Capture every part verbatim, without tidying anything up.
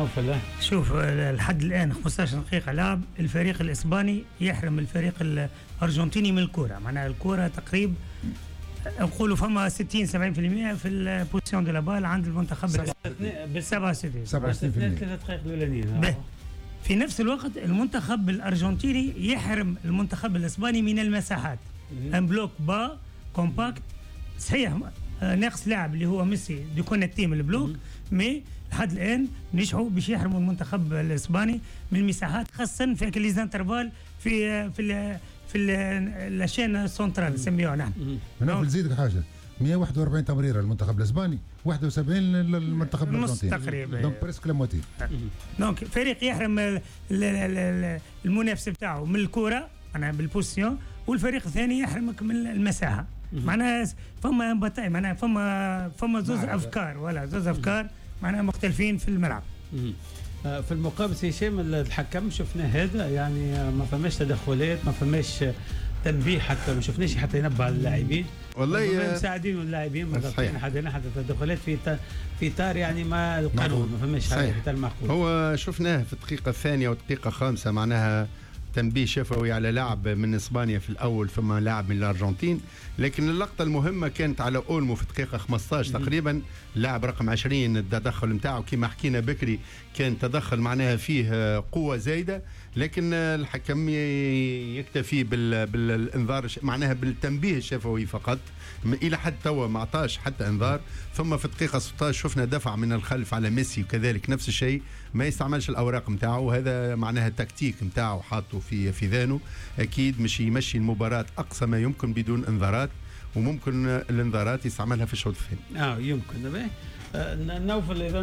نوفل؟ شوف لحد الان خمسطاش دقيقة لعب، الفريق الاسباني يحرم الفريق الارجنتيني من الكره، معناها الكره تقريبا نقولوا فما ستين سبعين بالمية في ال possession de la balle عند المنتخب بال سبعة وستين سبعة وستين بالمية ثلاث دقائق الاولانيين. في نفس الوقت المنتخب الارجنتيني يحرم المنتخب الاسباني من المساحات، un bloc bas compact، صحيح ناقص لاعب اللي هو ميسي déconnecté من ال bloc، mais لحد الان نجحوا باش يحرموا المنتخب الاسباني من المساحات، خاصة في les intervalles في في في la chaîne centrale نسميوها نحن. انا نزيدك حاجة، مية وواحد وأربعين تمريره للمنتخب الاسباني، واحد وسبعين للمنتخب الارجنتيني تقريبا، donc presque la moitié. donc فريق يحرم المنافس بتاعه من الكره معناها بال possession، والفريق الثاني يحرمك من المساحة، معناها فما bataille، معناها فما فما زوز افكار ولا زوز افكار معناها مختلفين في الملعب. في المقابل سي هشام الحكم شفنا هذا، يعني ما فماش تدخلات، ما فماش تنبيه، حتى ما شفناش حتى ينبه على اللاعبين. والله مساعدين اللاعبين ما ضابطين حتى حتى تدخلات في في اطار يعني ما القانون، ما فماش حاجة في اطار المعقول. هو شفناه في الدقيقة الثانية والدقيقة الخامسة معناها تنبيه شفوي على لاعب من اسبانيا في الاول ثم لاعب من الارجنتين، لكن اللقطة المهمة كانت على اولمو في الدقيقة خمسطاش تقريبا، لاعب رقم عشرين التدخل نتاعو كما حكينا بكري كان تدخل معناها فيه قوة زايدة، لكن الحكم يكتفي بالانذار معناها بالتنبيه الشفوي فقط، الى حد توا ما عطاش حتى انذار. ثم في الدقيقة ستطاش شفنا دفع من الخلف على ميسي وكذلك نفس الشيء، ما يستعملش الاوراق نتاعو، وهذا معناها التكتيك نتاعو حاطه في في ذانه، اكيد مش يمشي المباراة اقصى ما يمكن بدون انذارات، وممكن الانذارات يستعملها في الشوط الثاني. اه يمكن. نوفل اذا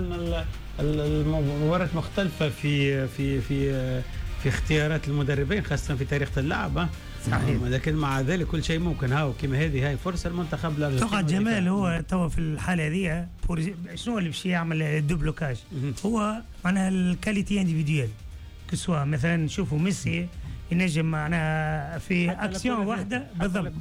المباراة مختلفة في في في في اختيارات المدربين خاصة في طريقه اللعب. صحيح، لكن مع ذلك كل شيء ممكن. هاو كما هذه هاي فرصة المنتخب الارجنتيني. تقعد جمال هو توا في الحالة هذه شنو اللي باش يعمل déblocage؟ هو معناها ال qualité individuelle que ce soit، مثلا نشوفوا ميسي ينجم معناها في اكسيون واحدة بالضبط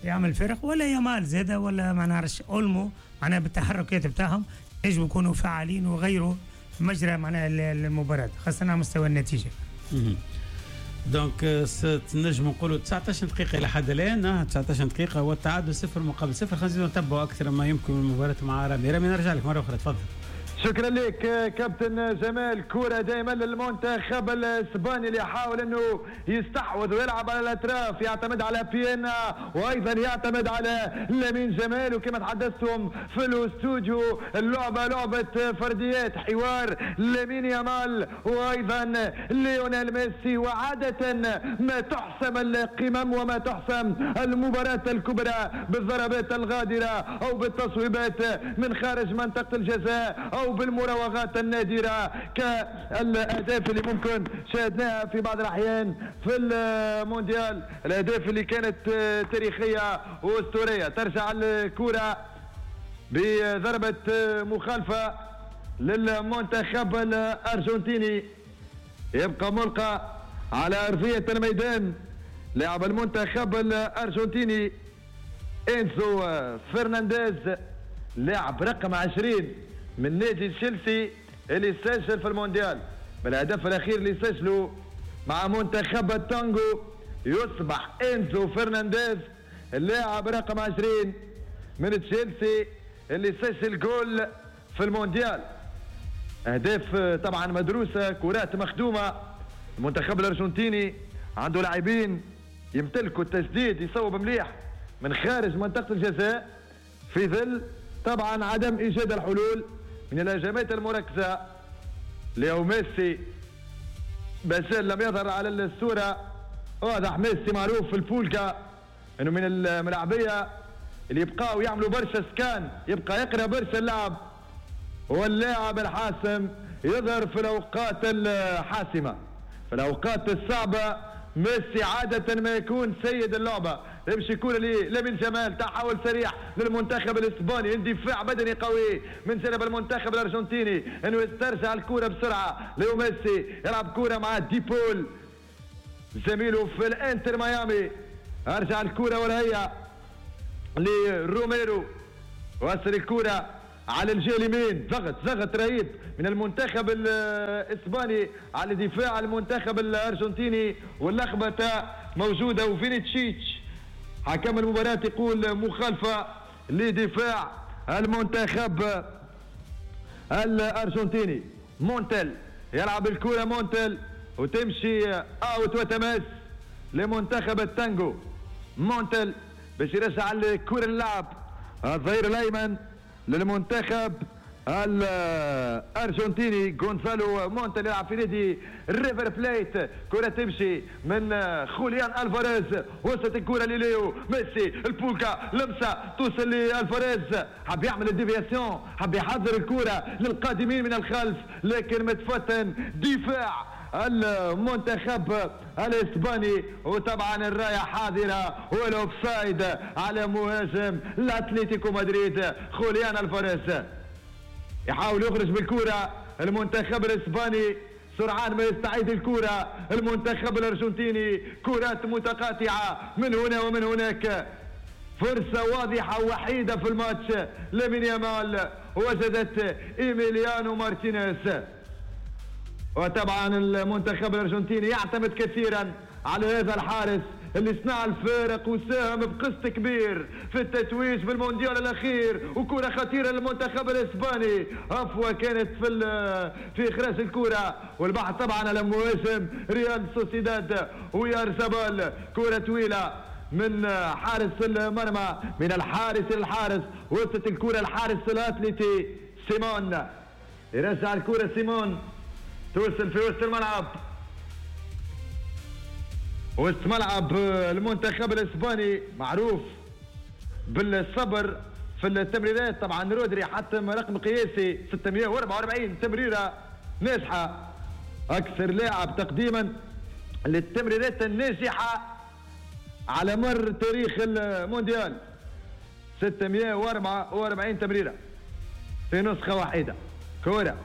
يعمل فرق، ولا يامال زاده، ولا ما نعرفش اولمو، معناها بالتحركات بتاعهم ينجموا يكونوا فعالين وغيروا مجرى معناها المباراة خاصة على مستوى النتيجة. donc نجم نقولوا تسعطاش دقيقة إلى حد الآن، تسعطاش دقيقة والتعادل صفر مقابل صفر. خلينا نزيدوا نتبعوا أكثر ما يمكن من المباراة مع رامي. رامي نرجع لك مرة أخرى، تفضل. شكرا لك كابتن جمال. كرة دائما للمنتخب الاسباني اللي يحاول انه يستحوذ ويلعب على الاطراف، يعتمد على بيانا وايضا يعتمد على لامين جمال. وكما تحدثتم في الاستوديو اللعبة لعبه فرديات، حوار لامين يامال وايضا ليونيل ميسي. وعاده ما تحسم القمم وما تحسم المباراة الكبرى بالضربات الغادره او بالتصويبات من خارج منطقة الجزاء او بالمراوغات النادرة كالاهداف اللي ممكن شاهدناها في بعض الاحيان في المونديال، الاهداف اللي كانت تاريخية واسطوريه. ترجع الكره بضربه مخالفة للمنتخب الارجنتيني، يبقى ملقى على ارضية الميدان لاعب المنتخب الارجنتيني انزو فرنانديز، لاعب رقم عشرين من نادي تشيلسي اللي سجل في المونديال بالهدف الاخير اللي سجله مع منتخب التانجو. يصبح انزو فرنانديز اللاعب رقم عشرين من تشيلسي اللي سجل جول في المونديال. اهداف طبعا مدروسة، كرات مخدومة. المنتخب الارجنتيني عنده لاعبين يمتلكوا التسديد، يصوب مليح من خارج منطقة الجزاء في ظل طبعا عدم ايجاد الحلول من الهجمات المركزة. ليو ميسي بس لم يظهر على الصورة. واضح ميسي معروف في البولكا انه من الملاعبيه اللي يبقاو يعملوا برشا scan، يبقى يقرا برشا اللعب، واللاعب الحاسم يظهر في الاوقات الحاسمة، في الاوقات الصعبة. ميسي عادة ما يكون سيد اللعبة. يمشي كرة لامين جمال، تحول سريع للمنتخب الاسباني، اندفاع بدني قوي من جانب المنتخب الارجنتيني انه يسترجع الكرة بسرعة. ليو ميسي يلعب كرة مع ديبول زميله في الانتر ميامي، ارجع الكرة ولا هي لروميرو، وصل الكرة على الجهة اليمين، ضغط ضغط رهيب من المنتخب الاسباني على دفاع المنتخب الارجنتيني، واللخبطه موجودة. وفينيتشيتش حكم المباراة يقول مخالفة لدفاع المنتخب الارجنتيني. مونتل يلعب الكره، مونتل وتمشي out وتماس لمنتخب التانجو. مونتل باش يرجع الكره للعب، الظهير الايمن للمنتخب الارجنتيني غونزالو مونتل يلعب في نادي ريفر بليت. كرة تمشي من خوليان الفاريز، وصلت الكرة لليو ميسي، البوكا لمسة توصل لالفاريز، حب يعمل ال déviation، حب يحضر الكرة للقادمين من الخلف، لكن متفتن دفاع المنتخب الاسباني، وطبعا الراية حاضره وال offside على مهاجم الاتليتيكو مدريد خوليان الفاريز. يحاول يخرج بالكرة المنتخب الاسباني، سرعان ما يستعيد الكرة المنتخب الارجنتيني، كرات متقاطعه من هنا ومن هناك. فرصة واضحة وحيده في الماتش لامين يامال، وجدت ايميليانو مارتينيز. وطبعا المنتخب الارجنتيني يعتمد كثيرا على هذا الحارس اللي صنع الفارق وساهم بقسط كبير في التتويج بالمونديال الاخير. وكره خطيرة للمنتخب الاسباني، هفوة كانت في في اخراج الكره، والبحث طبعا على مهاجم ريال سوسيداد ويارزابال. كره طويلة من حارس المرمى، من الحارس للحارس، وصلت الكره الحارس الاتليتي سيمون، يرجع الكره سيمون، توصل في وسط الملعب، وسط ملعب المنتخب الاسباني معروف بالصبر في التمريرات. طبعا رودري حتم رقم قياسي ستمئة وأربعة وأربعين تمريره ناجحة، اكثر لاعب تقديما للتمريرات الناجحة على مر تاريخ المونديال، ستمئة وأربعة وأربعين تمريره في نسخه واحدة. كره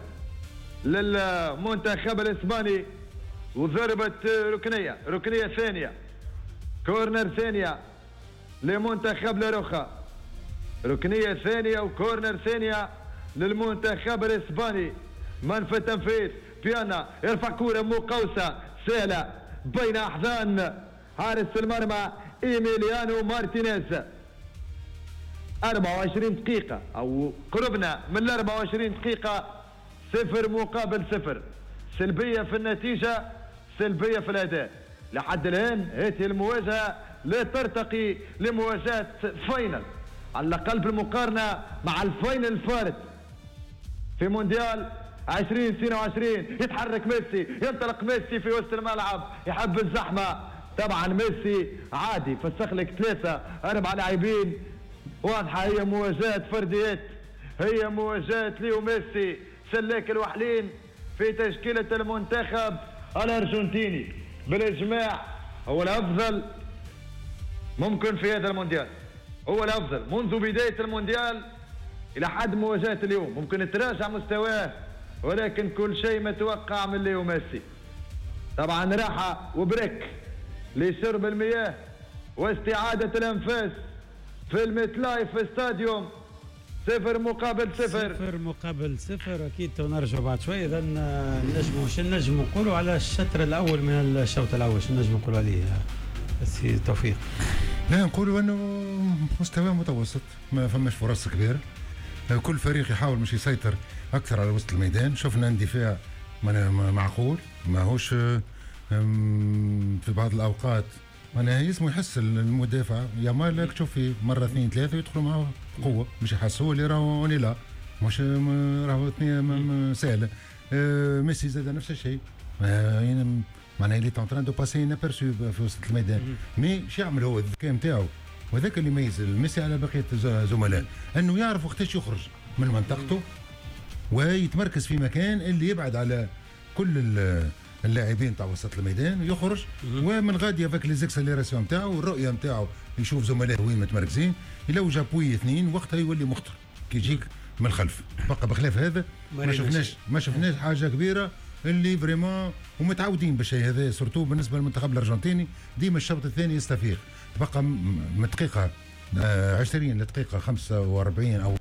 للمنتخب الاسباني وضربة ركنية، ركنية ثانية، corner ثانية لمنتخب لاروخا، ركنية ثانية و corner ثانية للمنتخب الاسباني. من في التنفيذ؟ بيانا يرفع كرة مقوسة سهلة بين احضان حارس المرمى ايميليانو مارتينيز. أربعة وعشرين دقيقة او قربنا من أربعة وعشرين دقيقة، صفر مقابل صفر، سلبية في النتيجة، سلبية في الأداء. لحد الآن هذه المواجهة لا ترتقي لمواجهة final، على الأقل بالمقارنة مع ال final الفارط في مونديال ألفين واثنين وعشرين. يتحرك ميسي، ينطلق ميسي في وسط الملعب، يحب الزحمة. طبعا ميسي عادي فسخ لك ثلاثة أربعة لاعبين، واضحة هي مواجهة فرديات، هي مواجهة ليو ميسي سلاك الوحلين في تشكيلة المنتخب الأرجنتيني. بالإجماع هو الأفضل ممكن في هذا المونديال، هو الأفضل منذ بداية المونديال إلى حد مواجهة اليوم. ممكن تراجع مستواه، ولكن كل شيء متوقع من ليو ميسي. طبعا راحة و break لشرب المياه واستعادة الأنفاس في الميتلايف ستاديوم، صفر مقابل صفر، صفر مقابل صفر. اكيد نرجع بعد شوي. اذا نجموا شنو نجموا نقولوا على الشطر الاول من الشوط الاول، شنو نجموا نقولوا عليه سي توفيق؟ لا نقولوا انه مستوى متوسط، ما فماش فرص كبيرة، كل فريق يحاول مش يسيطر اكثر على وسط الميدان. شفنا اندفاع معقول، ماهوش في بعض الاوقات معناها يسمو يحس المدافع يامال تشوف فيه مرة اثنين ثلاثة يدخلوا معه بقوة، مش يحسوا اللي راهو لا مش راهو اثنين سهلة. آه ميسي زاد نفس الشيء، معناها il est en train de passer inaperçu في وسط الميدان. mais شو يعمل هو؟ الذكاء نتاعو، وهذاك اللي يميز ميسي على بقية زملائه، انه يعرف وقتاش يخرج من منطقته ويتمركز في مكان اللي يبعد على كل اللاعبين تاع وسط الميدان، يخرج ومن غادي avec les accélérations نتاعو والرؤية نتاعو يشوف زملائه وين متمركزين، يلوج appui اثنين وقتها يولي مخطر كي يجيك من الخلف. بقى بخلاف هذا ما شفناش ما شفناش حاجة كبيرة اللي vraiment ومتعودين بالشيء هذا، surtout بالنسبة للمنتخب الارجنتيني ديما الشوط الثاني يستفيق. تبقى من دقيقة عشرين لدقيقه خمسة وأربعين او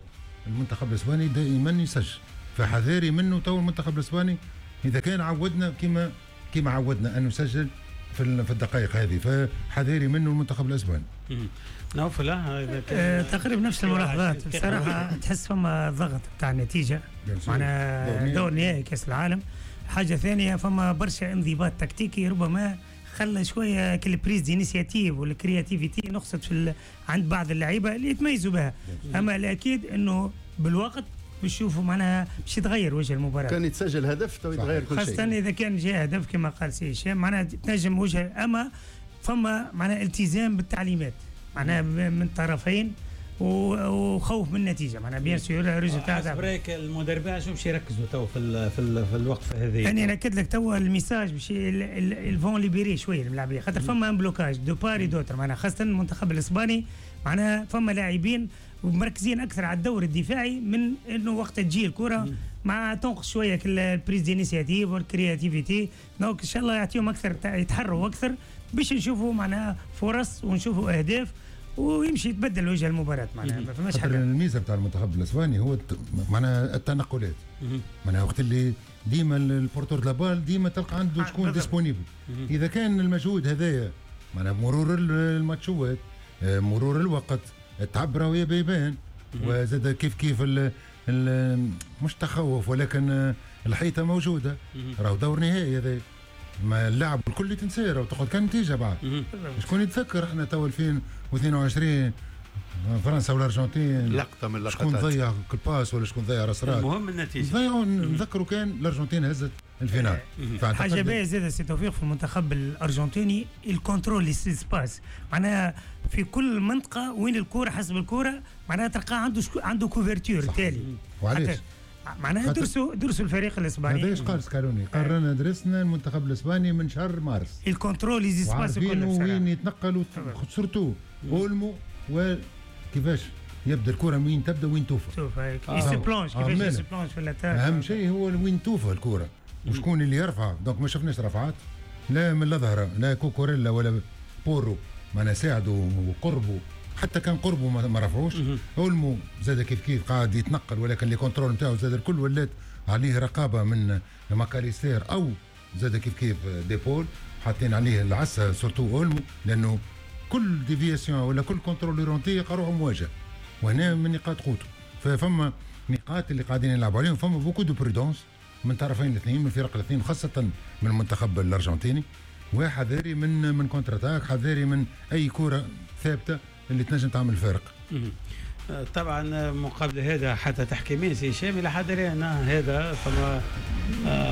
المنتخب الاسباني دائما يسجل، فحذاري منه تو المنتخب الاسباني اذا كان عودنا كما كما عودنا انه يسجل في في الدقائق هذه، فحذاري منه المنتخب الاسباني. نوفل اذا كان تقريبا نفس الملاحظات بصراحة، تحس فما ضغط بتاع النتيجة معنا دور نهائي كاس العالم. حاجة ثانية فما برشا انضباط تكتيكي ربما خلى شوية كل prise d'initiative وال créativité نقصت في عند بعض اللعيبة اللي يتميزوا بها. اما الاكيد انه بالوقت بنشوفوا معناها باش يتغير وجه المباراة. كان يتسجل هدف تو يتغير كل شيء، خاصة اذا كان جاء هدف كما قال سي هشام معناها تنجم وجه. اما فما معناها التزام بالتعليمات معناها من الطرفين وخوف من النتيجة معناها bien sûr résultat. حسب رايك المدربين شو باش يركزوا تو في ال في, ال في الوقفة هذه؟ يعني ناكد لك تو ال message باش ils vont libérer شوية الملاعبيه، خاطر فما un blocage de part et d'autre معناها خاصة المنتخب الاسباني معناها فما لاعبين ومركزين اكثر على الدور الدفاعي من انه وقت تجي الكره مع تنقص شوية ال prise d'initiative وال créativité. donc ان شاء الله يعطيهم اكثر يتحروا اكثر باش نشوفوا معناها فرص ونشوفوا اهداف ويمشي يتبدل وجه المباراة معناها ما فماش حاجة. الميزة بتاع المنتخب الاسباني هو معناها التنقلات، معناها وقت اللي ديما ال porteur de la balle ديما تلقى عنده شكون disponible. اذا كان المجهود هذايا معناها مرور الماتشوات مرور الوقت التعب راهو يبان، وزاد كيف كيف ال ال مش تخوف ولكن الحيطة موجودة، راهو دور نهائي هذا ما اللعب الكل تنسى راهو تقعد كان نتيجة بعد. شكون يتذكر احنا تو ألفين واثنين وعشرين فرنسا والارجنتين لقطة من اللقطات شكون ضيع كل passe ولا شكون ضيع راس راس، المهم النتيجة ضيعوا. نذكروا كان الارجنتين هزت ال finale. حاجة باهيه زاد سي توفيق في المنتخب الارجنتيني ال contrôle les espaces معناها في كل منطقة وين الكره حسب الكره معناها تلقى عنده شكو عنده couverture تالي. وعلاش معناها درسوا درسوا الفريق الاسباني. هذا ايش قال سكالوني؟ قال رانا درسنا المنتخب الاسباني من شهر مارس ال contrôle les espaces كل وين يتنقلوا surtout اولمو وكيفاش يبدا الكره وين تبدا وين توفى. شوف هيك se plonge كيفاش se plonge في l'attaque. اهم شيء هو وين توفى الكره وشكون اللي يرفع. donc ما شفناش رفعات لا من الظهر لا كوكوريلا ولا بورو معناها ساعدوا وقربوا، حتى كان قربوا ما رفعوش. اولمو زاد كيف كيف قاعد يتنقل ولكن les contrôles نتاعو زاد الكل ولات عليه رقابه من ماكاليستير او زاد كيف كيف ديبول حاطين عليه العسه surtout اولمو، لانه كل déviation ولا كل contrôle orienté يلقى مواجهة، وهنا من نقاط قوته. ففما نقاط اللي قاعدين يلعبوا عليهم، فما beaucoup de prudence من طرفين الاثنين من الفرق الاثنين خاصة من المنتخب الارجنتيني، وحذاري من من contre-attaque، حذاري من اي كره ثابتة اللي تنجم تعمل فارق. طبعا مقابل هذا حتى تحكيمين سي هشام الى حد الان هذا فما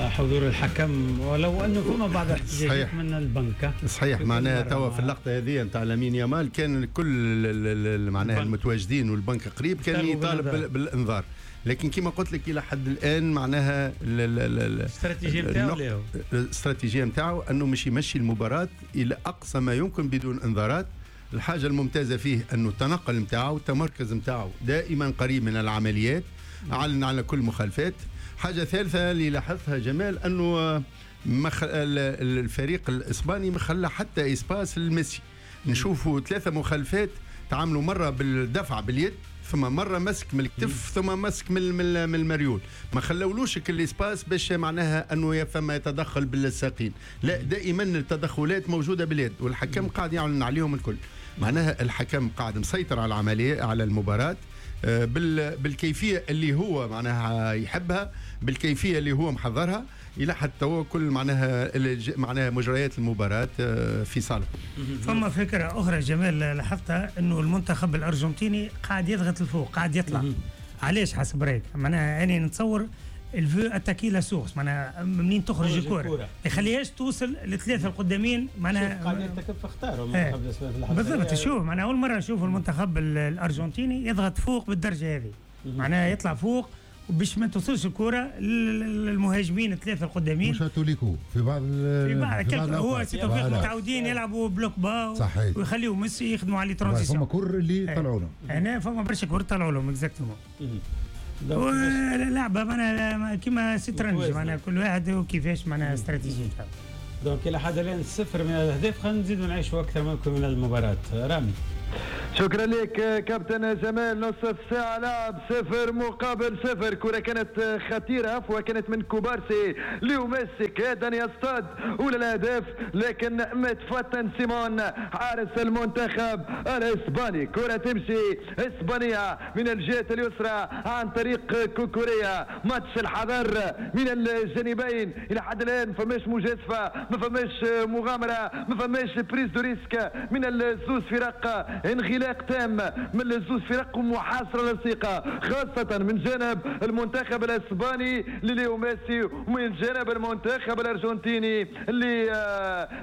حضور الحكم ولو انه فما بعض الاحتجاجات من البنك. صحيح معناها توا في اللقطة هذه نتاع لامين يامال كان كل معناها المتواجدين والبنك قريب كان يطالب بالانذار، لكن كما قلت لك الى حد الان معناها الاستراتيجية نتاعو الاستراتيجية نتاعو انه مش يمشي المباراة الى اقصى ما يمكن بدون انذارات. الحاجة الممتازة فيه أنه التنقل نتاعو التمركز نتاعو دائما قريب من العمليات، أعلن على كل مخالفات. حاجة ثالثة اللي لاحظتها جمال أنه مخ... الفريق الإسباني ما خلى حتى espace لميسي. نشوفوا ثلاثة مخالفات تعاملوا مرة بالدفع باليد ثم مرة مسك من الكتف ثم مسك من من المريول، ما خلولوش كل espace باش معناها انه فما يتدخل بالساقين، لا دائما التدخلات موجودة باليد والحكم قاعد يعلن عليهم الكل. معناها الحكم قاعد مسيطر على العملية على المباراة بالكيفية اللي هو معناها يحبها، بالكيفية اللي هو محضرها الى حتى هو كل معناها معناها مجريات المباراة في صالح. فما فكرة اخرى جمال لاحظتها انه المنتخب الارجنتيني قاعد يضغط الفوق قاعد يطلع. علاش حسب رايك؟ معناها انا نتصور il veut attaquer la source معناها منين تخرج الكره ما يخليهاش توصل لثلاثة القدامين معناها قاعد يرتكب في اخطار المنتخب الاسباني في اللحظة بالضبط. شوف معناها اول مرة نشوف المنتخب الارجنتيني يضغط فوق بالدرجة هذه، معناها يطلع فوق باش ما توصلش الكره للمهاجمين الثلاثة القدامين. مش هاتوليكو في بعض في بعض, في بعض هو سي توفيق متعودين يلعبوا bloc bas ويخليوا ميسي يخدموا على transitions. فما كور اللي طلعوا لهم هنا فما برشا كور طلعوا لهم exactement. لعبه معناها كيما سترنج معناها كل واحد وكيفاش معناها استراتيجية. donc الى حد الان صفر من الاهداف، خلينا نزيدوا نعيشوا اكثر ممكن من المباراة. رامي شكرا لك كابتن جمال. نصف ساعة لعب، صفر مقابل صفر. كرة كانت خطيرة، عفوا كانت من كوبارسي ليو ميسي، كاد أن يصطاد أولى الأهداف لكن متفتن سيمون حارس المنتخب الإسباني. كرة تمشي إسبانية من الجهة اليسرى عن طريق كوكوريا. ماتش الحذر من الجانبين إلى حد الآن، فماش مجازفة، ما فماش مغامرة، ما فماش prise de risque من الزوز فرق. انغلاق تام من الزوز فرق ومحاصرة لصيقة، خاصة من جانب المنتخب الاسباني لليو ميسي ومن جانب المنتخب الارجنتيني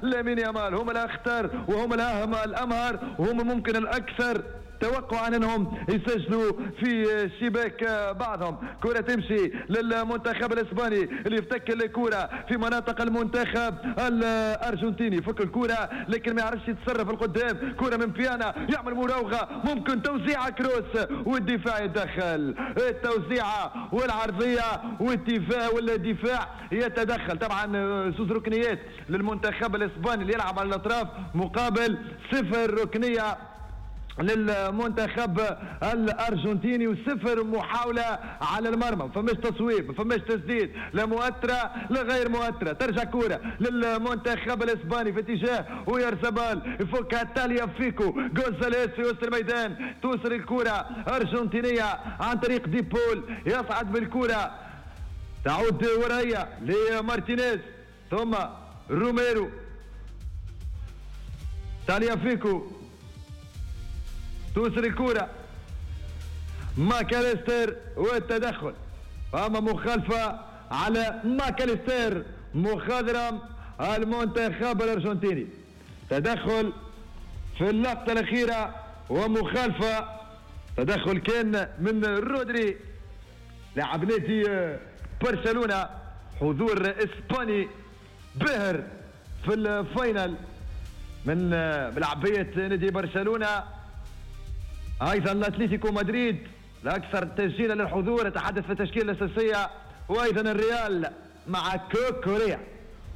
لامين يامال. هم الاخطر وهم الاهم الامهر وهم ممكن الاكثر توقعا انهم يسجلوا في شباك بعضهم. كرة تمشي للمنتخب الاسباني اللي يفتك الكرة في مناطق المنتخب الارجنتيني، يفك الكرة لكن ما يعرفش يتصرف القدام. كرة من بيانا، يعمل مراوغة، ممكن توزيعة كروس والدفاع يتدخل. التوزيعة والعرضية والدفاع والدفاع يتدخل. طبعا زوز ركنيات للمنتخب الاسباني اللي يلعب على الاطراف مقابل صفر ركنية للمنتخب الارجنتيني وصفر محاولة على المرمى. ما فماش تصويب، ما فماش تسديد، لا مؤثرة لا غير مؤثرة. ترجع كره للمنتخب الاسباني في اتجاه ويرزبال، يفكها تاليا فيكو غونزاليس في وسط الميدان. توصل الكره ارجنتينيه عن طريق ديبول، يصعد بالكرة، تعود ورايا لمارتينيز ثم روميرو، تاليا فيكو، توصل الكرة ماكاليستر والتدخل. أما مخالفة على ماكاليستر مخضرم المنتخب الأرجنتيني. تدخل في اللقطة الأخيرة ومخالفة، تدخل كان من رودري لاعب نادي برشلونة، حضور إسباني باهر في ال finale من ملعبية نادي برشلونة. ايضا الاتليتيكو مدريد الاكثر تسجيلا للحضور، يتحدث في التشكيلة الاساسية، وايضا الريال مع كوكوريا،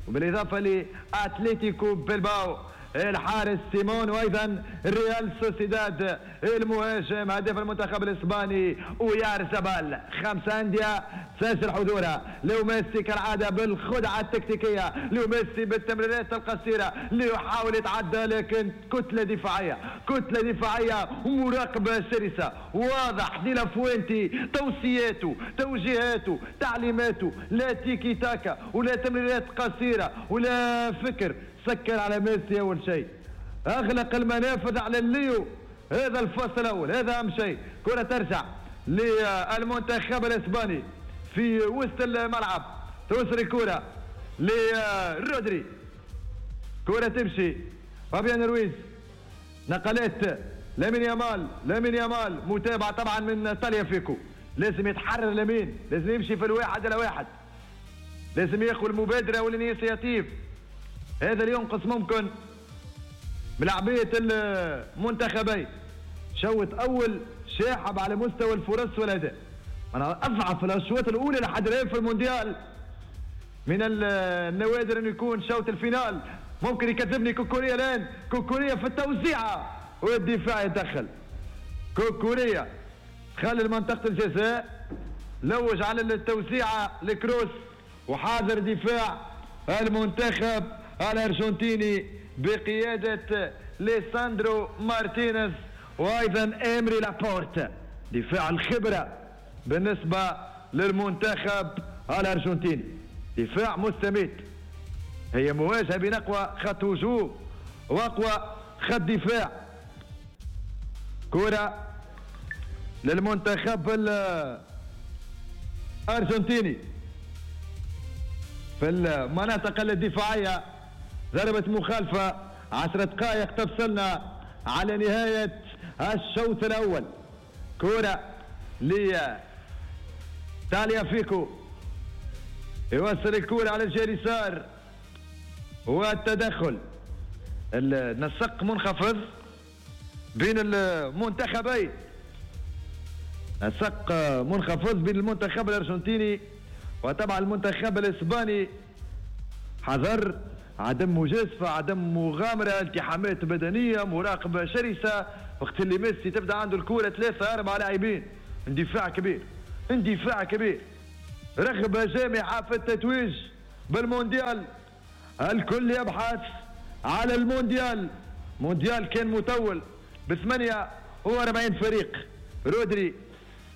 وبالاضافة لاتليتيكو بلباو الحارس سيمون، وايضا ريال سوسيداد المهاجم هداف المنتخب الاسباني ويار زبال. خمسة اندية تسجل حضورها. ليو ميسي كالعادة بالخدعه التكتيكيه، ليو ميسي بالتمريرات القصيرة ليحاول يتعدى لكن كتلة دفاعية، كتلة دفاعية ومراقبة شرسة. واضح ديلا فوينتي توصياته، توجيهاته، تعليماته، لا تيكي تاكا ولا تمريرات قصيرة ولا فكر. سكر على ميسي اول شيء، اغلق المنافذ على الليو. هذا الفصل الاول، هذا اهم شيء. كرة ترجع للمنتخب الاسباني في وسط الملعب، توصل الكرة لرودري، كرة تمشي فابيان رويز، نقلات لامين يامال، لامين يامال متابعة طبعا من تاليا فيكو. لازم يتحرر لامين، لازم يمشي في الواحد على واحد، لازم ياخذ المبادرة وال initiative. هذا اللي ينقص ممكن ملعبية المنتخبين. شوط أول شاحب على مستوى الفرص والأداء، أنا أضعف الأشواط الأولى لحد الآن في المونديال. من النوادر أن يكون شوط ال finale. ممكن يكذبني كوكوريا الآن، كوكوريا في التوزيعة والدفاع يتدخل. كوكوريا خلي منطقة الجزاء، لوج على التوزيعة لكروس، وحاضر دفاع المنتخب الأرجنتيني بقيادة ليساندرو مارتينيز وأيضا إيمري لابورت. دفاع الخبرة بالنسبة للمنتخب الأرجنتيني، دفاع مستميت. هي مواجهة بين أقوى خط هجوم وأقوى خط دفاع. كرة للمنتخب الأرجنتيني في المناطق الدفاعية، ضربة مخالفة. عشر دقائق تفصلنا على نهاية الشوط الأول. كرة لتاليا فيكو، يوصل الكرة على الجهة اليسار والتدخل. النسق منخفض بين المنتخبين، نسق منخفض بين المنتخب الأرجنتيني وطبعا المنتخب الإسباني. حذر، عدم مجازفة، عدم مغامرة، التحامات بدنية، مراقبة شرسة. وقت اللي ميسي تبدا عنده الكورة ثلاثة اربعة لاعبين، اندفاع كبير، اندفاع كبير، رغبة جامعه في التتويج بالمونديال. الكل يبحث على المونديال. مونديال كان مطول ب ثمانية وأربعين فريق. رودري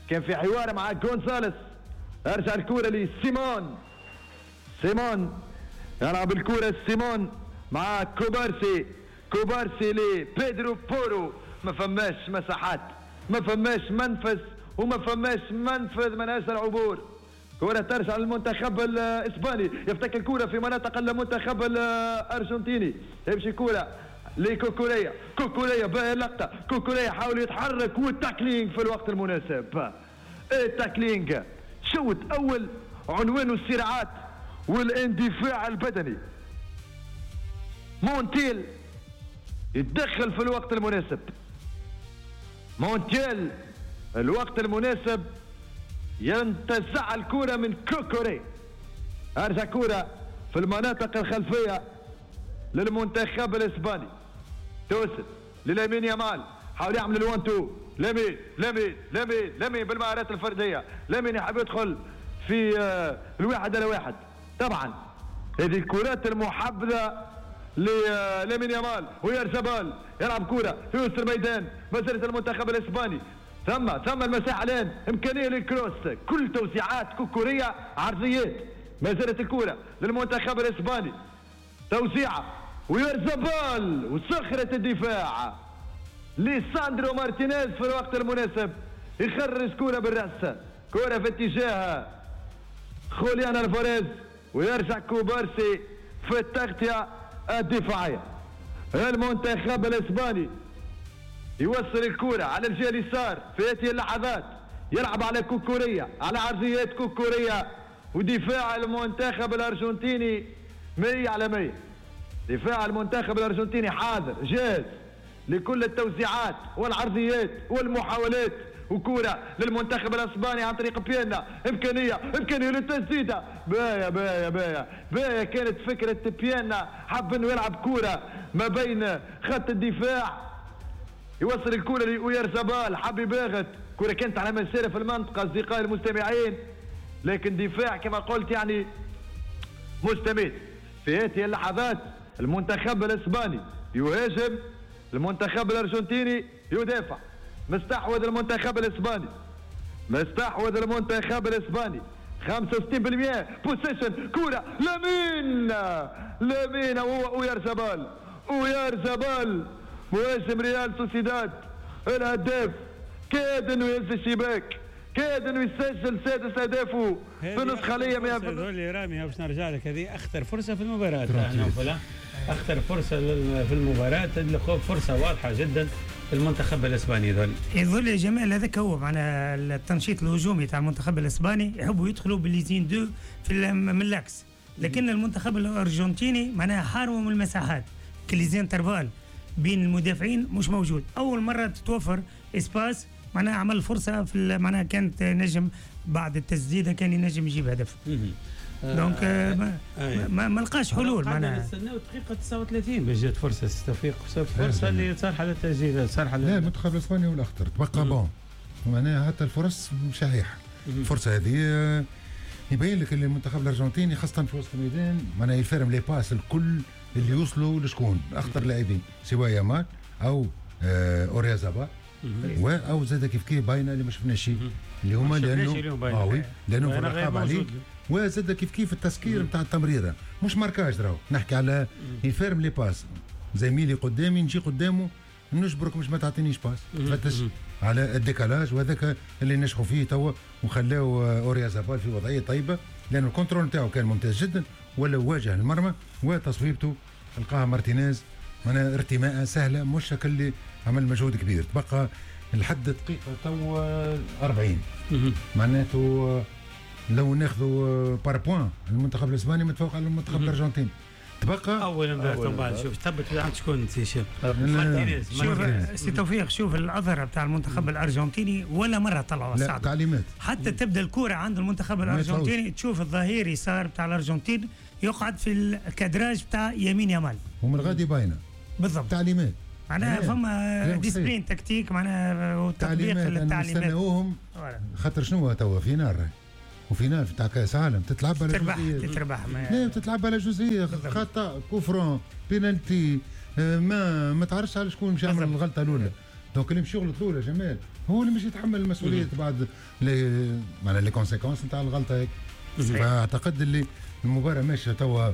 كان في حوار مع غونزاليس، ارجع الكرة لسيمون، سيمون يلعب الكرة، سيمون مع كوبارسي، كوبارسي لبيدرو بورو. ما فماش مساحات، ما فماش منفذ، وما فماش منفذ من اجل العبور. كرة ترجع للمنتخب الاسباني، يفتك الكرة في مناطق المنتخب الارجنتيني، يمشي كرة لكوكوريا، كوكوريا باهي اللقطة، كوكوريا حاول يتحرك وال tackling في الوقت المناسب. ال tackling شوط اول عنوانه الصراعات والاندفاع البدني. مونتيل يتدخل في الوقت المناسب، مونتيل الوقت المناسب ينتزع الكرة من كوكوري. ارجع كرة في المناطق الخلفية للمنتخب الاسباني، توصل للامين يامال، حاول يعمل ال one two، لامين لامين لامين لامين بالمهارات الفردية، لامين يحب يدخل في الواحد على واحد. طبعا هذه الكرات المحبذه للامين يامال ويرزبال، يلعب كرة في وسط الميدان، مسيرة المنتخب الاسباني. ثم ثم المساحة الان، امكانية لل cross، كل توزيعات كوكوريه عرضيات. ما زالت الكرة للمنتخب الاسباني، توزيعه ويرزبال وصخرة الدفاع لساندرو مارتينيز في الوقت المناسب، يخرج كرة بالرأس، كرة في اتجاه خوليان الفاريز، ويرجع كوبارسي في التغطية الدفاعية. المنتخب الاسباني يوصل الكرة على الجهة اليسار في هذه اللحظات، يلعب على كوكوريا، على عرضيات كوكوريا، ودفاع المنتخب الارجنتيني مية على مية. دفاع المنتخب الارجنتيني حاضر جاهز لكل التوزيعات والعرضيات والمحاولات. وكرة للمنتخب الاسباني عن طريق بيانا، امكانية امكانية للتسديده، بايا بايا بايا بايا. كانت فكرة بيانا، حب انه يلعب كرة ما بين خط الدفاع، يوصل الكرة لأويرزابال، حب يباغت، كرة كانت على مسيرة في المنطقة اصدقائي المستمعين، لكن دفاع كما قلت يعني مستميت. في هذه اللحظات المنتخب الاسباني يهاجم، المنتخب الارجنتيني يدافع. مستحوذ المنتخب الاسباني، مستحوذ المنتخب الاسباني خمسة وستين بالمئة possession. كرة لامين، لامين وهو اويرزابال، اويرزابال مهاجم ريال سوسيداد الهداف، كاد انه يهز الشباك، كاد انه يسجل سادس اهدافه في النسخة ليه. هذول رامي باش نرجع لك، هذه اخطر فرصة في المباراة، اخطر فرصة في المباراة، فرصة واضحة جدا المنتخب الاسباني. ذول يظل يا جمال هذاك هو معناها التنشيط الهجومي تاع المنتخب الاسباني، يحبوا يدخلوا بال les une deux في من l'axe، لكن المنتخب الارجنتيني معناها حارموا من المساحات، les intervalles بين المدافعين مش موجود. اول مرة تتوفر espace معناها عمل فرصة في معناها كانت نجم بعد التسديده كان ينجم يجيب هدف. donc ما, ما, ما لقاش حلول معناها. نستناو دقيقة تسعة وثلاثين باش جات فرصة توفيق، فرصة اللي صالحه للتسجيل، صالحه. لا المنتخب الاسباني هو الاخطر، تبقى bon معناها حتى الفرص شحيحة. الفرصة هذه يبين لك اللي المنتخب الارجنتيني خاصة في وسط الميدان معناها يفرم les passes الكل اللي يوصلوا لشكون اخطر لاعبين، سواء يامال او اوريازابا او زاد كيف كيف باينة اللي ما شفناش اللي هما لانه اه oui لانه في الرقابة عليه، وزاد كيف كيف التسكير نتاع التمريره مش marquage، راهو نحكي على يفرم les passes، زميلي قدامي نجي قدامه نجبرك مش ما تعطينيش passe، تفتش على ال décalage، وهذاك اللي نجحوا فيه توا وخلاو اوريازابال في وضعية طيبة، لانه ال contrôle نتاعو كان ممتاز جدا ولا واجه المرمى، وتصويبته لقاها مارتينيز معناها ارتماء سهلة مش اللي عمل مجهود كبير. تبقى لحد دقيقة تو أربعين معناته لو ناخذوا par points المنتخب الاسباني متفوق على المنتخب الارجنتيني. تبقى اول امبارح من بعد شوف ثبت عند شكون سي هشام مارتينيز. شوف سي توفيق، شوف الاظهرة بتاع المنتخب الارجنتيني ولا مرة طلعوا الصعد تعليمات، حتى تبدا الكره عند المنتخب الارجنتيني تشوف الظهير يسار بتاع الارجنتين يقعد في ال cadrage بتاع يمين يامال ومن غادي باينة بالضبط تعليمات. معناها فما discipline tactique معناها وتطبيق للتعليمات نستناوهم خاطر شنو توا finale و finale تاع كاس عالم تتلعب على تربح تتربح لا تتلعب على جزئية خطا coup franc penalty ما ما تعرفش على شكون مش يعمل الغلطة الاولى. donc اللي مش يغلط الاولى جمال هو اللي مش يتحمل المسؤولية بعد les معناها les conséquences نتاع الغلطة هيك. فاعتقد اللي المباراة ماشية توا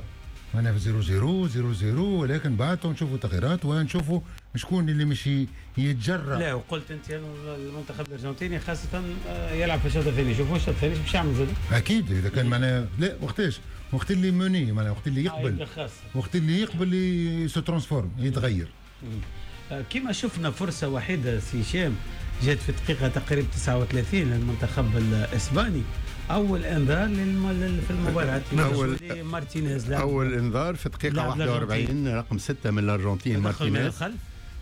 معناها في صفر صفر صفر صفر، ولكن بعد نشوفوا تغييرات ونشوفوا شكون اللي مش يتجرأ. لا وقلت انت المنتخب الارجنتيني خاصة يلعب في الشوط الثاني، شوفوا الشوط الثاني باش يعمل زاد اكيد اذا كان معناها لا وقتاش وقت اللي mené معناها وقت اللي يقبل وقت اللي يقبل se transforme يتغير. كما شفنا فرصة وحيده سي هشام جات في الدقيقة تقريبا تسعة وثلاثين للمنتخب الاسباني، اول انذار للم... في المباراة اول مارتينيز اول انذار في دقيقة واحد وأربعين رقم ستة من الارجنتين مارتينيز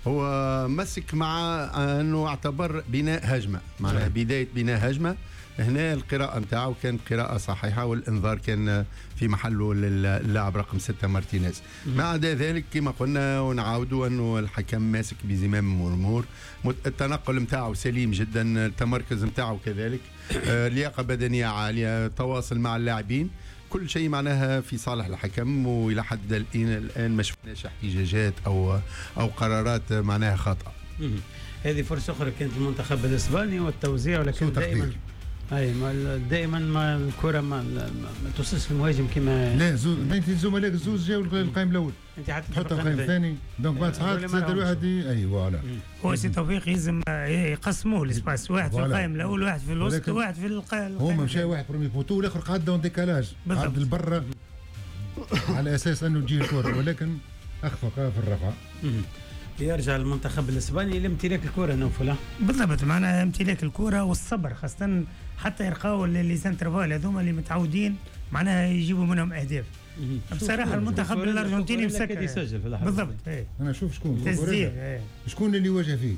هو مسك مع انه اعتبر بناء هجمة معناها بداية بناء هجمة. هنا القراءة نتاعو كانت قراءة صحيحه والانذار كان في محله للاعب رقم ستة مارتينيز. ما عدا ذلك كما قلنا ونعاودوا انه الحكم ماسك بزمام الامور، التنقل نتاعو سليم جدا، التمركز نتاعو كذلك، لياقه بدنية عالية، تواصل مع اللاعبين، كل شيء معناها في صالح الحكم. والى حد الان الان ما شفناش احتجاجات او او قرارات معناها خاطئه. هذه فرصة اخرى كانت المنتخب الاسباني والتوزيع، ولكن دائما اي دائما ما الكره ما, ما توصلش للمهاجم كما لا زوز بين الزملاء زوز جاوا القائم الاول انت حتى تحط القائم الثاني donc بعد ساعات زاد الواحد اي voilà. هو سي توفيق يلزم يقسموه l'espace، واحد في القائم الاول واحد في الوسط واحد في القائم. هما مشى واحد premier poteau والاخر قعد en décalage قعد لبرا على اساس انه تجي الكره، ولكن اخفق في الرفع. يرجع المنتخب الاسباني لامتلاك الكره نوفل بالضبط، معناها امتلاك الكره والصبر خاصة حتى يرقاو les intervalles هذوما اللي متعودين معناها يجيبوا منهم اهداف. بصراحة المنتخب الارجنتيني مسكر يسجل في اللحظة بالضبط. ايه. انا شوف شكون كوكوريلا شكون اللي يواجه فيه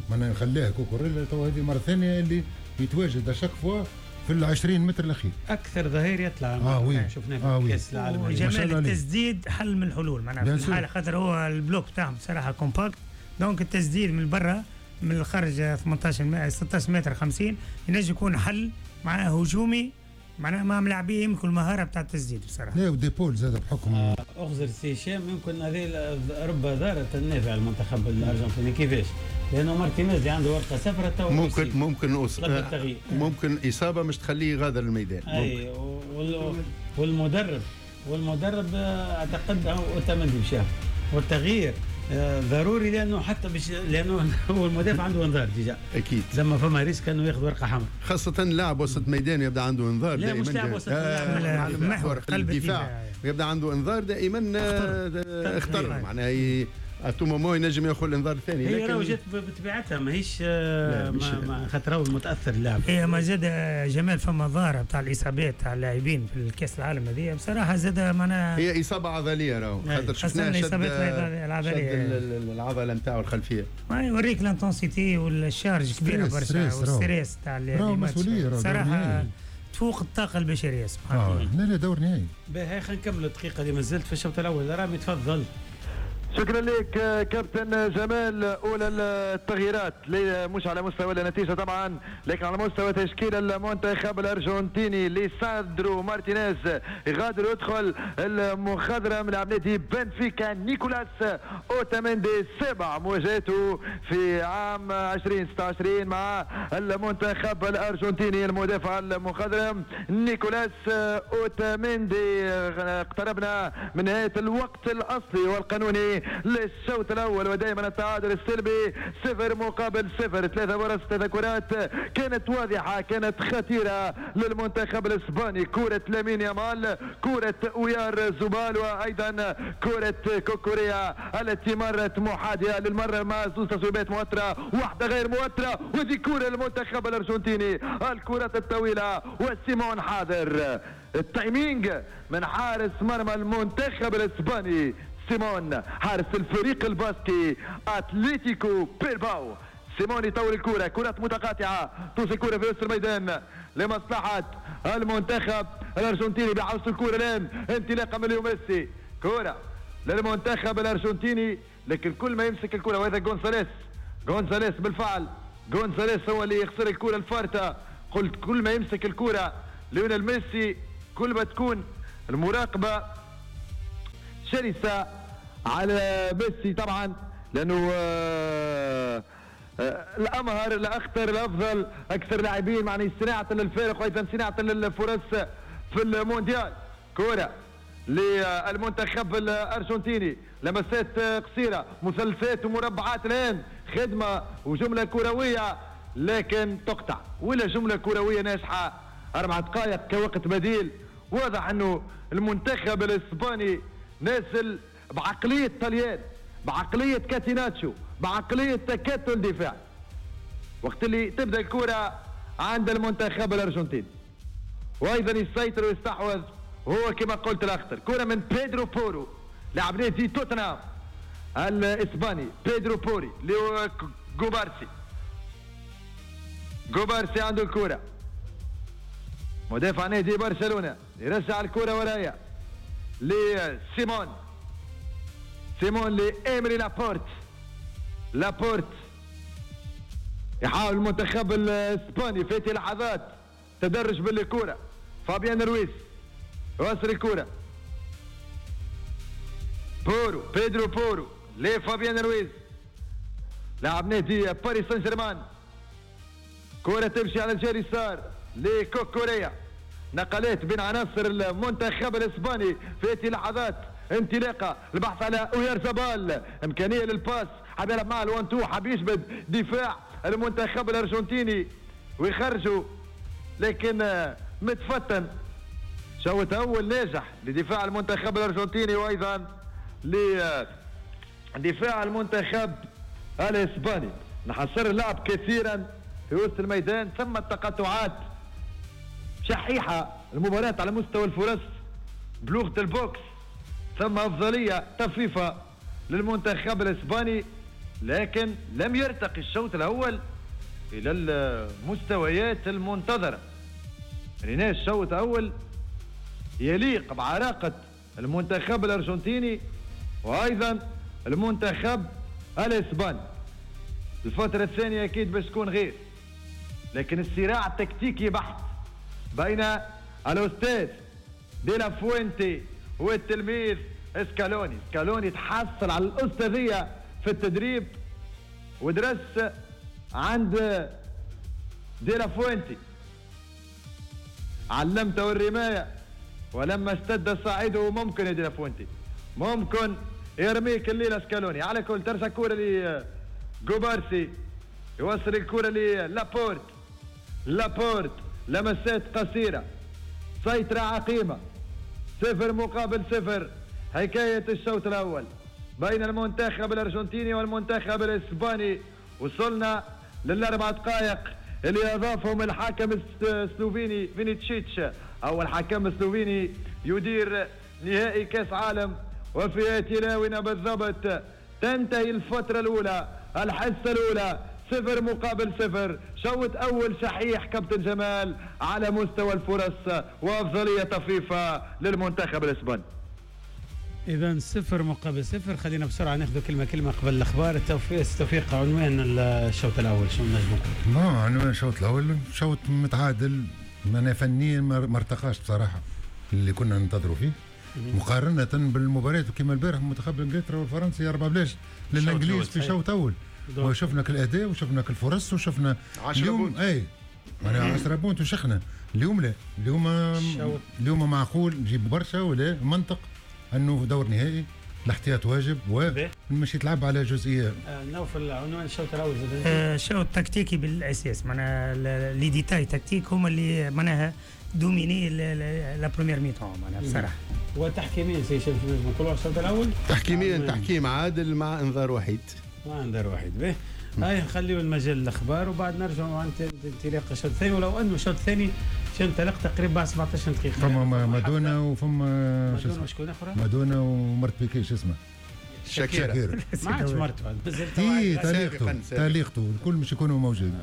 معناها خلاه كوكوريلا تو هذه المرة الثانية اللي يتواجد à chaque fois في ال عشرين متر الاخير اكثر ظهير يطلع. اه oui شفناه في آه كاس العالم. وجمال التسديد حل من الحلول معناها في الحالة خاطر هو ال bloc بتاعهم بصراحة compact، donc التسديد من برا من الخارج ثمانية عشر ستة عشر متر خمسين ينجم يكون حل معناها هجومي معناها مع ملاعبيه يمكن المهارة بتاع التسديد بصراحة. لا وديبول زاد بحكم آه اخزر سي هشام يمكن هذه رب ضارة النافع المنتخب الارجنتيني كيفاش؟ لانه مارتينيز اللي عنده ورقة صفراء تو ممكن ممكن أص... ممكن اصابه مش تخليه يغادر الميدان. اي وال... والمدرب والمدرب اعتقد اوتامندي مشى، والتغيير ضروري لانه حتى بش لانه هو المدافع عنده انذار déjà اكيد لما فما risque انه ياخذ ورقة حمراء، خاصة لاعب وسط ميدان يبدا عنده انذار دائما. لا مش لاعب وسط آه محور قلب الدفاع يبدا عنده انذار دائما اختر معناها à tout moment ينجم ياخذ الانذار الثاني. هي راهو جات بطبيعتها ماهيش خاطر هو المتاثر اللاعب. هي ما زاد جمال فما ظاهره بتاع الاصابات تاع اللاعبين في الكاس العالم هذه بصراحة زاد معناها هي اصابه عضلية راهو خاطر شفناها شد العضلية العضلة نتاعو الخلفية ما يوريك l'intensité وال charge كبيرة برشا وال stress تاع المسؤولية صراحة تفوق الطاقة البشرية سبحان الله. لا لا دور نهائي. باهي خلينا نكملوا الدقيقة اللي مازلت في الشوط الاول. رامي تفضل. شكرا لك كابتن جمال. اولى التغييرات مش على مستوى النتيجة طبعا لكن على مستوى تشكيل المنتخب الارجنتيني. ليساندرو مارتينيز يغادر ويدخل المخضرم لاعب نادي بنفيكا نيكولاس اوتاميندي، سبع مواجهاته في عام ألفين وستة وعشرين مع المنتخب الارجنتيني. المدافع المخضرم نيكولاس اوتاميندي. اقتربنا من نهاية الوقت الاصلي والقانوني للشوط الاول ودائما التعادل السلبي صفر مقابل صفر. ثلاثة فرص ثلاثة كرات كانت واضحة كانت خطيرة للمنتخب الاسباني، كره لامين يامال، كره اويار زوبال، وايضا كره كوكوريا التي مرت محاذيه للمرة مع زوج تصويبات مؤثرة واحدة غير مؤثرة. وهذه كره للمنتخب الارجنتيني، الكرات الطويلة وسيمون حاضر. ال timing من حارس مرمى المنتخب الاسباني سيمون، حارس الفريق الباسكي اتلتيكو بيلباو. سيمون يطول الكرة، كرات متقاطعة، توصل الكرة في وسط الميدان لمصلحة المنتخب الأرجنتيني. بحوز الكرة الآن انطلاقة من ليو ميسي، كرة للمنتخب الارجنتيني، لكن كل ما يمسك الكره وهذا غونزاليس، غونزاليس بالفعل، غونزاليس هو اللي يخسر الكره الفارطه. قلت كل ما يمسك الكره ليونيل ميسي كل ما تكون المراقبة شرسة على ميسي طبعا، لانه آه آه الامهر الاخطر الافضل، اكثر لاعبين معني صناعة للفارق وايضا صناعة للفرص في المونديال. كره للمنتخب الارجنتيني، لمسات قصيرة، مثلثات ومربعات الان، خدمة وجملة كروية لكن تقطع، ولا جملة كروية ناجحة. اربع دقائق كوقت بديل. واضح انه المنتخب الاسباني نازل بعقلية طليان، بعقلية كاتيناتشو، بعقلية تكتل دفاع. وقت اللي تبدا الكره عند المنتخب الارجنتيني وايضا يسيطر ويستحوذ هو كما قلت الاخطر. كره من بيدرو بورو لاعب نادي توتنهام الاسباني، بيدرو بوري لكوبارسي، كوبارسي عنده الكره، مدافع نادي برشلونة يرجع الكره ورايا لسيمون، سيمون لإيمري لابورت، لابورت يحاول المنتخب الاسباني في هذه لحظات تدرج بالكرة. فابيان رويز يوصل الكرة، بورو، بيدرو بورو لفابيان رويز لاعب نادي باريس سان جيرمان. كرة تمشي على الجهة اليسار لكوكوريا، نقلات بين عناصر المنتخب الاسباني في هذه اللحظات، انطلاقة البحث على اويارزابال، امكانية لل passe، حاب يلعب مع ال one two، حاب يجبد دفاع المنتخب الارجنتيني ويخرجوا، لكن متفتن. شوط اول ناجح لدفاع المنتخب الارجنتيني وايضا لدفاع المنتخب الاسباني. نحصر اللعب كثيرا في وسط الميدان، ثم التقاطعات شحيحة المباراة على مستوى الفرص بلغه ال box، ثم افضلية طفيفة للمنتخب الاسباني، لكن لم يرتقي الشوط الاول الى المستويات المنتظره. ريناش الشوط الاول يليق بعراقه المنتخب الارجنتيني وايضا المنتخب الاسباني. الفترة الثانية اكيد باش تكون غير، لكن الصراع التكتيكي بحت بين الاستاذ ديلا فوينتي والتلميذ اسكالوني. اسكالوني تحصل على الاستاذيه في التدريب ودرس عند ديلا فوينتي، علمته الرماية ولما اشتد صاعده ممكن يا ديلا فوينتي ممكن يرميك الليلة اسكالوني. على كل ترجع كورة لكوبارسي، يوصل الكره للابورت، لابورت لمسات قصيرة، سيطرة عقيمة، صفر مقابل صفر. حكاية الشوط الاول بين المنتخب الارجنتيني والمنتخب الاسباني. وصلنا للاربع دقائق اللي اضافهم الحاكم السلوفيني فينيتشيتش، اول حكم سلوفيني يدير نهائي كاس عالم. وفي تلاونا بالضبط تنتهي الفترة الاولى، الحصة الاولى، صفر مقابل صفر. شوط اول شحيح كابتن جمال على مستوى الفرص وافضليه طفيفة للمنتخب الاسباني. اذا صفر مقابل صفر. خلينا بسرعة ناخذ كلمة كلمة قبل الاخبار. التوفيق توفيق عنوان الشوط الاول شنو نجم نقول؟ ما عنوان الشوط الاول شوط متعادل، انا فنيا ما ارتقاش بصراحة اللي كنا ننتظروا فيه مقارنة بالمباريات كما البارح منتخب انجلترا والفرنسي أربعة بلاش للانجليز في شوط اول، وشفنا الاداء وشفنا الفرص وشفنا اليوم اي معناها عشرة بونت وشخنا. اليوم لا، اليوم اليوم معقول نجيب برشا ولا منطق انه دور نهائي الاحتياط واجب ومش يتلعب على جزئية. آه نوفل عنوان الشوط الاول آه شوط تكتيكي بالاساس، معناها les détails tactiques هما اللي معناها dominé la première mi-temps معناها بصراحة. وتحكيميا سي شريف نقولوا الشوط الاول تحكيميا تحكيم عادل مع انذار وحيد، مع انذار وحيد. به هاي نخليو المجال الاخبار وبعد نرجعوا عن انطلاق الشوط الثاني، ولو انه الشوط الثاني انطلق تقريبا بعد سبعطاش دقيقة. فما مادونا وفما مادونا وشكون اخرى؟ مادونا ومرت بيكي شو اسمه؟ شاكيرا ما عادش مرته. اي طليقته طليقته الكل مش يكونوا موجودين،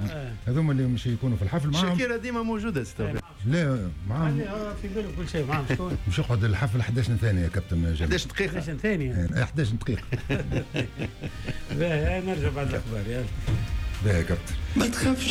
هذوما اللي مش يكونوا في الحفل معاهم. شاكيرا ديما موجودة ستوفيق. لا معاهم في باله كل شيء معاهم. شكون مش يقعد الحفل احداش ثانية يا كابتن جمال؟ احداش دقيقة. احداش ثانية. احداش دقيقة. باهي نرجع بعد الاخبار يلا. باهي يا كابتن. ما تخافش.